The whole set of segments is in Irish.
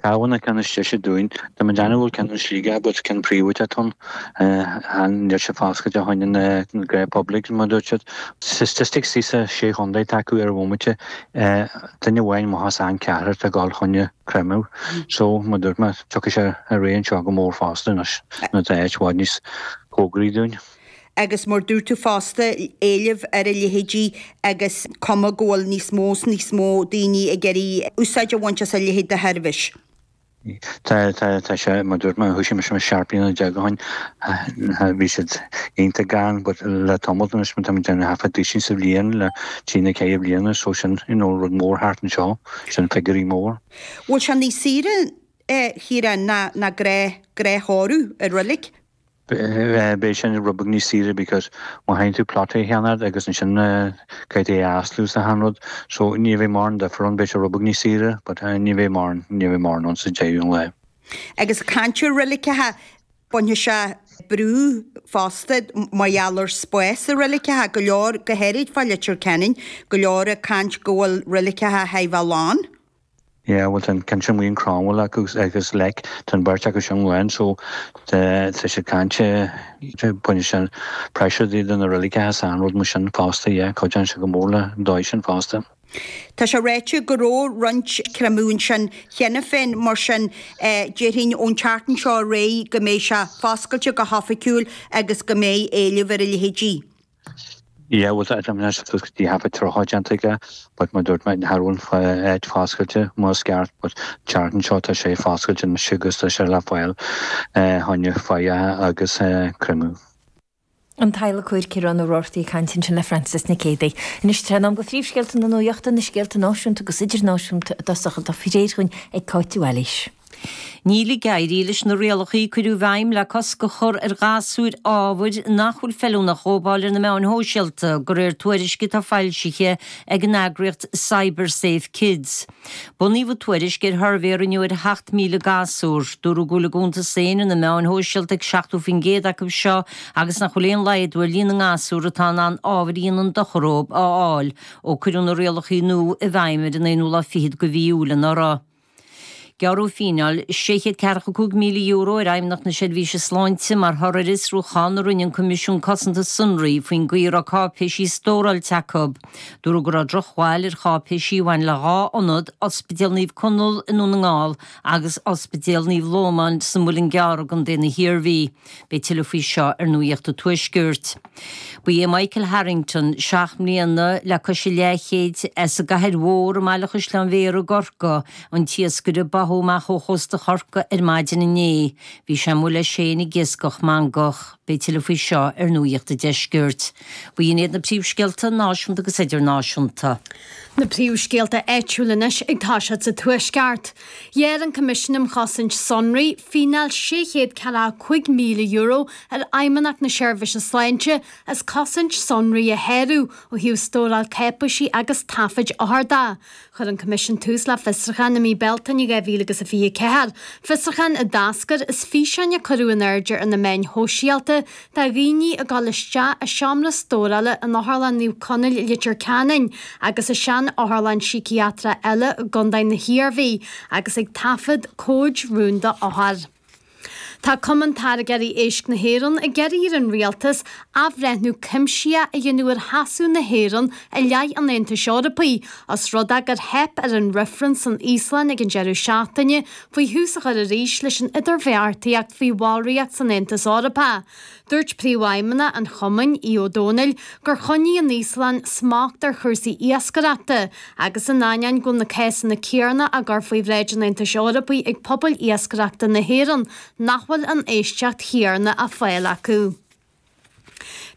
Cabhán an ceann is deise dúinn. Tá mé ag déanamh go bhfuil ceann i Sligeach but ceann príobháideach atá ann. Níl sé foscailte fá choinne na gnáth public mar a dúirt siad. Statistics sa sé chontae atá acu ar an bhomaite, duine amháin amach as achan ceathrar atá ag dul fá choinne creimeadh. So, mar a dúirt mé, tiocfaidh sé ar aghaidh anseo go mór fosta anois nuair atá áit i bhfad níos cóngaraí dúinn. Agus mar dúirt tú fosta, éileamh ar a leithéidí agus cuma go bhfuil níos mó 's níos mó daoine ag iarraidh úsáid a bhaint as a leithéid de sheirbhís. Tá, tá, tá sé, mar dúirt mé, thoisigh mise 17 bliana ó shin, bhí siad iontach gann but le tamall anois, tá muid ag déanamh thart fá duisín sa bhliain le trí nó ceithre bliana so sin, you know, rud mór thart anseo, sin figiúirí mór. Bhfuil sé níos saoire, a Chiaráin, ná, ná gnáth, gnáth-thórramh i roilig? Beidh sin rud beag níos saoire because má théann tú plota a cheannacht agus ansin caithfidh tú é a aslú is achan rud so ní bheidh mórán difear ann, beidh sé rud beag níos saoire but ní bheidh mórán, ní bheidh mórán ann sa deireadh an lae. Agus caint ar reiligeacha, bainfidh sé brú fosta mar gheall ar spás i reiligeacha, go leor, go háirid fá Leitir Ceanainn, go leor ag caint go bhfuil reiligeacha thar a bheith lán. Yeah bhuel tá an ceann sin amuigh in Cromwell acu agus Leic tá an bheirt acu sin lán so tá siad ag caint bainfidh sé pressure de na reiligeacha is achan rud mar sin fosta yeah cuidíonn sé go mór le an dóigh sin fosta. Tá sé ráite go raibh roinnt creimeadh ansin cheana féin mar sin déarfainn ón tseachtain seo ar aghaidh go mbeidh sé foscailte go hoifigiúil agus go mbeidh éileamh ar a leithéidí. Yeah, bhuel tá mé suas go dtí thart fá 30 déanta aige but mar dúirt mé cha raibh an áit foscailte mar is ceart but an tseachtain seo tá sé foscailte anois agus tá sé le fáil fá choinne faillithe agus creimeadh. An t-adhlacóir Ciarán Ó Roarty ag caint ansin le Frances Nic Géadaigh. Anois tá sé in am do phríomhscéalta na nuachta, na scéalta náisiúnta agus idirnáisiúnta i dtosach atá faoi réir dhúinn ag Cáit Uí Bhailís. Níl ag éirí leis na rialacha a cuireadh i bhfeidhm le cosc a chur ar ghasúir ábhair nach bhfuil feiliúnach a dhópáil ar na meáin shóisialta, de réir tuairisce atá foilsithe ag an eagraíocht CyberSafe Kids. Bunaíodh an tuairisc ar shuirbhé a rinneadh ar 7,000 gasúr. Dúradh go bhfuil a gcuntas féin ar na meáin shóisialta ag 70% acu seo agus nach bhfuil aon laghdú ar líon na ngasúr atá in ann ábhar a dhéanann dochar dóibh a fháil ó cuireadh na rialacha nua i bhfeidhm ar an aonú lá fichead de mhí Iúil anuraidh. Gearradh fíneáil €645,000 ar Fheidhmeannacht na Seirbhíse Sláinte mar thoradh ar fhiosrúchán a rinne an Coimisiún Cosanta Sonraí faoin gcaoi a raibh cáipéisí stóráilte acu. Dúradh go raibh drochbhail ar cháipéisí a bhain le dhá ionad, Ospidéal Naomh Conall i nDún na nGall agus Ospidéal Naomh Lómán sa Mhuileann gCearr i gContae na hIarmhí. Beidh tuilleadh faoi seo ar Nuacht an Tuaiscirt. Ba é Michael Harrington, 7 mbliana le cois a leathchéid, as an gCathair Mhór i mBaile Chaisleáin Bhéarra i gCorcaigh, an t-iascaire a báthadh amach ó chósta Chorcaí ar maidin inné. Bhí sé amuigh leis féin ag iascach mangach. Beidh tuilleadh faoi seo ar Nuacht an Deiscirt. B'in iad na príomhscéalta náisiúnta agus idirnáisiúnta. Na príomhscéalta áitiúla anois ag toiseacht sa Tuaisceart. Ghearr an Coimisiún um Chosaint Sonraí fíneáil €645,000 ar Fheidhmeannacht na Seirbhíse Sláinte as cosaint sonraí a shárú ó thaobh stóráil cáipéisí agus taifid othar de. Chuir an Coimisiún tús le fiosrúchán i mí Bealtaine 2024, fiosrúchán a d'eascair as físeáin a cuireadh in airde ar na meáin shóisialta de dhaoine ag dul isteach i seomra stórála in Otharlann Naomh Conaill i Leitir Ceanainn agus i sean-otharlann síciatrach eile i gContae na hIarmhí agus ag taifead comhaid rúnda othar. Tá Cumann Táirgeoirí Éisc na hÉireann ag iarraidh ar an Rialtas athbhreithniú cuimsitheach a dhéanamh ar sheasamh na hÉireann i leith an Aontais Eorpaigh, os rud é gur theip ar an reifreann san Íoslainn ag an deireadh seachtaine faoi thús a chur arís leis an idirbheartaíocht faoi bhallraíocht san Aontas Eorpach. Dúirt Príomhfheidhmeannach an chumainn, Aodh Ó Domhnaill, gur choinnigh an Íoslainn smacht ar chúrsaí iascaireachta agus in ainneoin go bhfuil na cásanna céanna á gcur faoi bhráid an Aontais Eorpaigh ag pobail iascaireachta na hÉireann, nach bhfuil an éisteacht chéanna á fáil acu.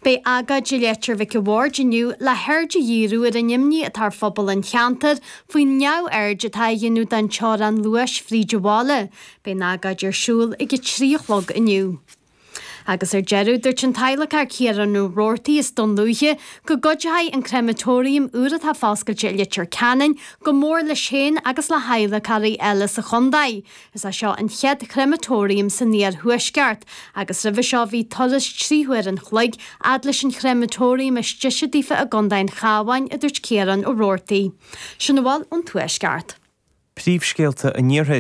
Beidh agóid i Leitir Mhic a' Bhaird inniu le haird a dhíriú ar an imní atá ar phobal an cheantair faoin neamhaird atá á dhéanamh den teorainn luais fríd an bhaile. Beidh an agóid ar siúl ag a 3 a chlog inniu. Agus ar deireadh, dúirt an t-adhlacóir Ciarán Ó Roarty as Dún Lúiche go gcuideoidh an créamatóiriam úr atá foscailte i Leitir Ceanainn go mór leis féin agus le hadhlacóirí eile sa chontae. Is é seo an chéad chréamatóiriam san iarthuaisceart agus roimhe seo bhí turas 3 huair an chloig fhad leis an chréamatóiriam is deise daofa i gContae an Chabháin, a dúirt Ciarán Ó Roarty. Sin a bhfuil ón Tuaisceart. Príomhscéalta an Iarthair.